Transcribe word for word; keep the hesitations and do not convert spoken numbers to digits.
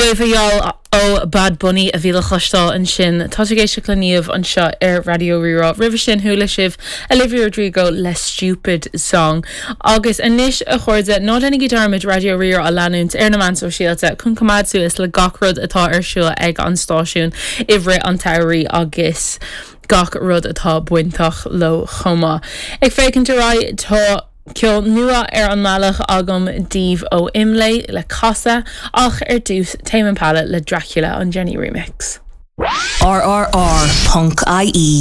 Nueva Y'all ó Bad Bunny a bhí le cloisteáil ansin tá ag éisteacht le Niamh anseo ar Raidió Rí-Rá. Roimhe sin chuala sibh Olivia Rodrigo le Stupid Song. Agus anois a chairde ná déanaigí dearmad Raidió Rí-Rá a leanúint ar na meáin sóisialta chun coimeád suas le gach rud atá ar siúl ag an stáisiún i rith an tsamhraidh agus gach rud atá bainteach leo chomh maith. Ag féachaint ar aghaidh tá ceol nua ar an mbealach agam daoibh ó Imlé le casadh ach ar dtús Tame Impala le Dracula an Jenny remix. RRR.ie